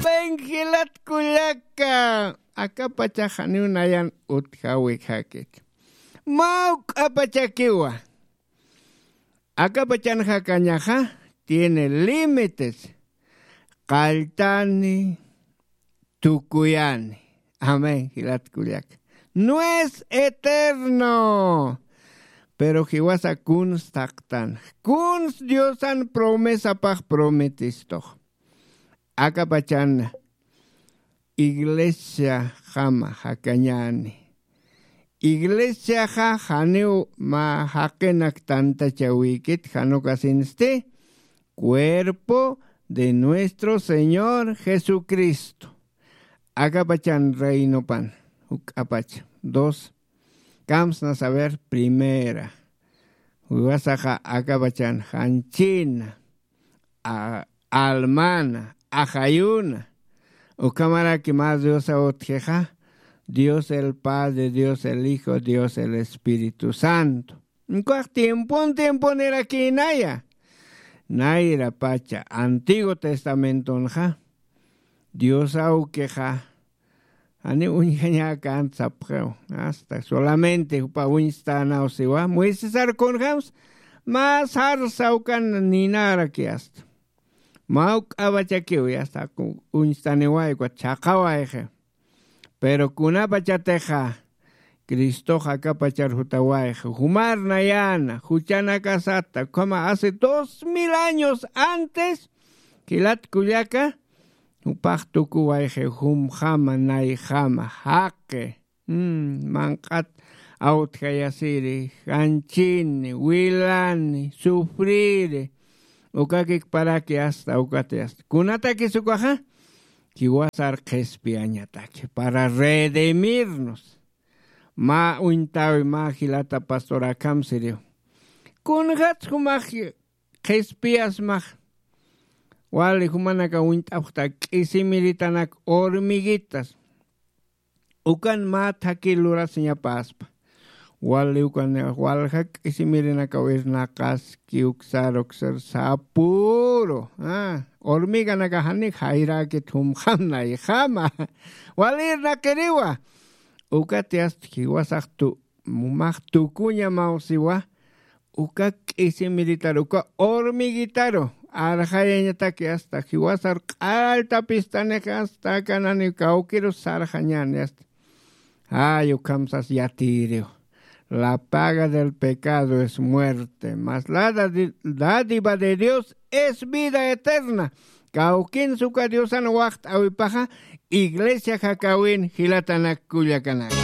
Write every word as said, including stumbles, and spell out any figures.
Jup'in jilat kullaka, akapachax janiw nayan utjawikxakit. Mä juk'apachakiwa. Akapachan jakañaxa tiene límites. Qalltani, tukuyani. Amén, jilat kullaka. No es eterno. Pero jiwasa kuns taqtan. Kuns Diosan promesapax prometistux. Akapachan iglesiaxama jakañani. Iglesiaxa janiw mä jaqinak tantachawikit, jan ukasinsti, cuerpo de nuestro Señor Jesucristo. Akapachan reinopan, juk'apacha. Dos, kamsna saber, primera. Jiwasaxa akapachan janchina, a-, almana, ajayuna. Ukhamaraki mä Diosaw utjixa, Dios el Padre, Dios el Hijo, Dios el Espíritu Santo. Ukax tiempon tiemponirakinaya. Nayra pacha, Antiguo Testamentonxa, Dios awkixa, jani uñjañäkänti sapxiw. Hasta solamente jupa uñstanaw siwa. Moisesar kunjams, mä sarsa ukan ninaraki hasta. Mä juk'apachakiw, hasta uñstaniway, ukat chhaqawayxi. Pero kunapachatixa Cristox akapachar jutawayxa, jumar nayäna, juchanakasata, ukhama hace dos mil años antes, jilat kullaka, jupax tukuwayxi, jumjama, nayjama, jaqi, mm, manq'at awtjayasiri, janchini, wilani, sufriri, ukakikparaki hasta, ukati hasta. Kunatakis ukaxa, jiwasar qhispiyañataki, para redimirnos. Mä uñtawi, mä jilata pastor, akham siriw. Kunjats jumax qhispiyasmax, wali jumanaka uñt'apxta k'isimiritanak, hormiguitas. Ukan mä thakir lurasiñapäspa. Wali ukan walja k'isimirinakaw irnaqaski, uksar, uksar, sapüru. Ah, hormiganaka janik jayräkit jumjam nayjama. Wali irnaqiriwa. Ukati hasta jiwasax tu-, jumax tukuñamaw siwa. Uka k'isimiritari, uka hormiguitaru arxayañataki hasta jiwasar q'alltapistanix hasta akanani kawkirus sarxañäni hasta. Ay, ukham sas yatiyiriw. La paga del pecado es muerte, mas la dadi-, dádiva de Dios es vida eterna. Kawkins uka Diosan waxt'äwipaxa, iglesia jakäwin jilatanak kullakanak.